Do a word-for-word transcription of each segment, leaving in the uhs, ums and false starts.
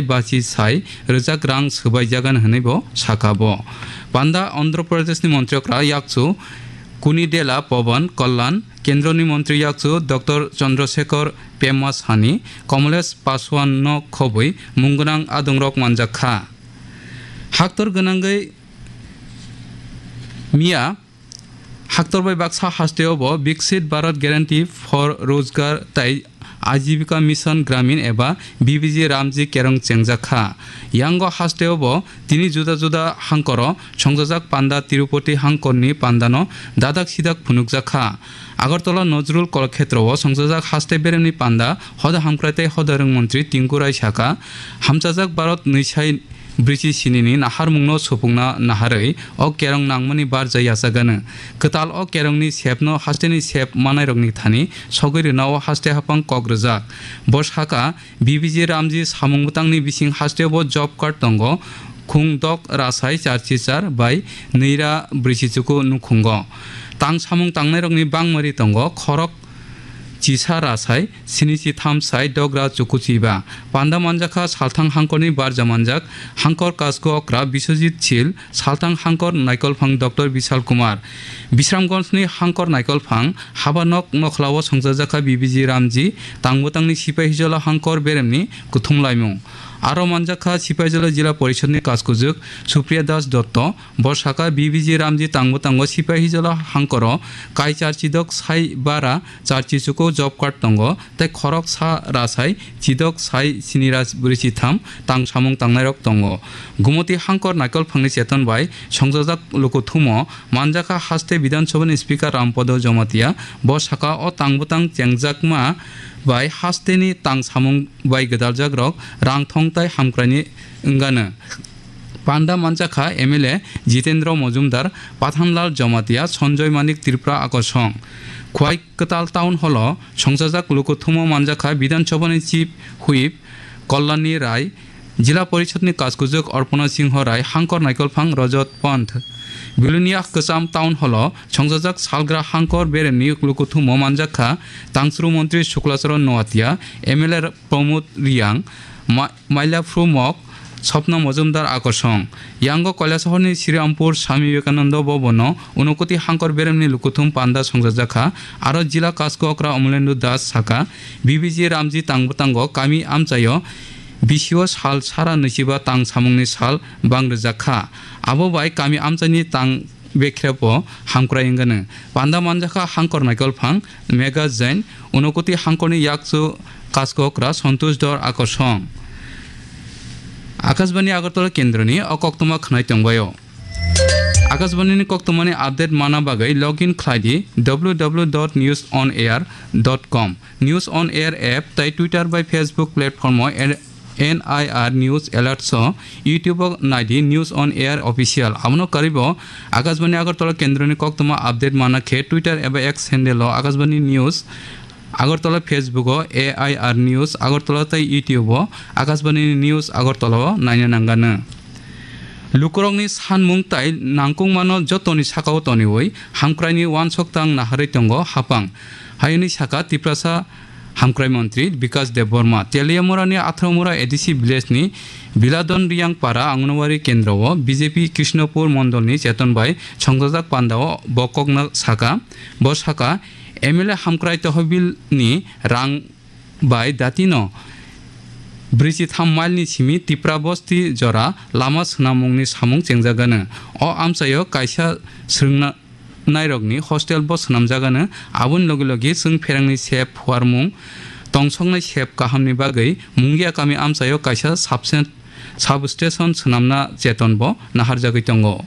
basi sai rwjak rang swbaijagani hwnwi bo sakha bo. Panda Andhra Pradeshni montri okra yakchu Kunidela Pawan Kalyan, Kendroni montri yakchu Doctor Chandrasekhar Pema Saini, Kamlesh Paswan no khobwi mung gwnang adongrok manjak kha. Haktor gwnangwi miya Haktor bai baksa hasteo bo Viksit Bharat Guarantee for Rozgar tei Ajibika Mission Gramin eba B B G Ramji kerong chengjak kha. Yango hasteo bo tini juda juda hangkoro songjajak panda Tirupati hangkorni pandano dadak sidak phunukjak kha. Agartala Nazrul Kalakhetro o songjajak haste beremni panda hoda hamkrai tei hoda rwng montri Tinku Rai sakha, hamchajak Bharat nwi sai brwichi sinini naharmungno supungna naharwi o kerong nangmani barja yachagano. Kwtal o kerongni sepno hasteni sep manairokni thani sogwi rwnao haste haphang kok rwjak. Bo sakha, B B G Ramji samung bwtangni bising hasteo bo job card tongo, khung dok rasai charchi char bai nwi ra brwichi chuku nukhungo. Tang samung tangnairokni bangmari tongo, khorok chisa rasai sini chi tham sai dogra chukuchiba. Panda manjakha salthang hangkorni barja manjak hangkor kasku okra Biswajit Sil, salthang hangkor naikolphang Doctor Bishal Kumar. Bisramganjni hangkor naikolphang haba nok nokhlao songchajakha B B G Ramji, tangbotangni sipai hijolo hangkor beremni kuthum laimung. Aro manjakha sipai hijolo Jila Porishodni kaskujuk Supriya Das Dotto, Bo sakha, B B G Ramji tangbo tango sipai hijolo hangkoro kai char chidok sai bara char chichuko job card tongo tei khorok sa rasai chidok sai sini ra bwrwi chitham tang samung tangnairok tongo. Gumoti hangkor naikolphangni cheton bai songjajak lukuthumo manjakha haste Bidhan Sabhani Speaker Rampodo Jomatia. Bo sakha, o tangbwtang chengjakma bai hasteni tang samung bai gwdaljakrok rang thong tai hamkraini wngano. Panda manjakha M L A Jitendra Mojumdar, Pathanlal Jomatia, Sanjoy Manik Tripura Akosong. Khwai Kwtal Town Hall o songchajak lukuthumo manjakha Bidhan Sabhani Chief Whip Kalyani Rai, Jila Porishodni kaskujuk Arpana Singho Rai, hangkor naikolphang Rajat Pant. Bilonia Kwcham Town Hall o songchajak salgra hangkor beremni lukuthumo manjakha Tangsru Montri Suklacharan Noatia, M L A Pramod Reang, Ma-, Mailaphru Mok, Swapna Mojumdar Akosong. Yango Kailasahorni Srirampur Swami Vivekananda Bhavan o Unakoti hangkor beremni lukuthum panda songchajakha, aro Jila Kasku Okra Amolendu Das sakha, B B G Ramji tangbo tango kami amchaio bisio sal sara nwichiba tang samungni sal bang rwjakha. Abo bai kami amchaini tang bekhrepo hamkrai wngano. Panda manjakha hangkor naikolphang Megha Jain, Unakoti hangkorni yakchu kaskokra Santosh Dor Akosong. Akashbani Agartala kendroni o koktwma khwnai tongbaio. Akashbanini koktwmani update mana bagwi log in khlai di W W W dot news on air dot com. News on Air app tei Twitter bai Facebook platform o N I R News Alerts o, YouTube o nai di News on Air Official. Abono kwrwibo Akashbani Agartala kendroni koktwma update mana khe Twitter eba X handle o Akashbani News Agartala, Facebook o A I R News Agartala tei YouTube o Akashbani News Agartala o naina nanganw. Lukurokni sanmung tai nangkukmano jotoni sakao toniwi hamkraini uansok tang naharwi tongo haphang. Hayungni saka Tiprasa Hamkrai Montri Bikas Debbarma. Teliamurani Atharomura A D C village ni Biladon Riyang Para Anganwadi Kendro o B J P Krishnopur Mondol ni cheton bai songchajak panda o bo kokno saka. Bo saka, M L A Hamkrai Tohobil ni rang bai datino brwichi tham mile ni simi Tipra Bosti jora lama swnamungni samung chengjagano. O amchaio kaisa swrwngna nairokni hostel bo swnamjagano, aboni logi logi chwng pherangni sep phuarmung, tongsoknai sep kahamni bagwi Mungia kami amchaio kaisa subsen-, substation swnamna cheton bo naharjagwi tongo.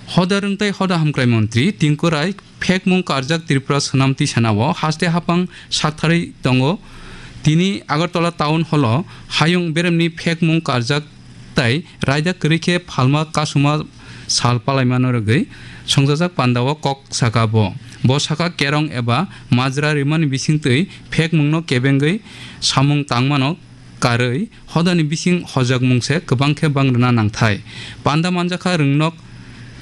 Hoda rwng tei hoda hamkrai montri Tinku Rai phekmung karjak Tripura swnam tisanao haste haphang saktharwi tongo. Tini Agartala Town Hall o hayung beremni phekmung karjak tai raida kwrwi khe phalma kasuma sal palaimano rwgwi songjajak pandao kok saka bo. Bo saka kerong eba majra rimani bisingtwi phekmungno kebengwi samung tangmano karwi hodani bising hojakmung se kwbang khe bang rwna nangthai. Panda manjakha rwngnok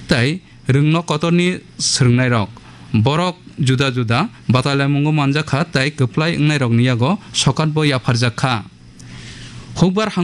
tai rwngnok kotorni swrwngnairok. Borok juda juda batalaimungo manjakha tai kwplai wngnairokni yago sokat bo yapharjak kha. Hukbar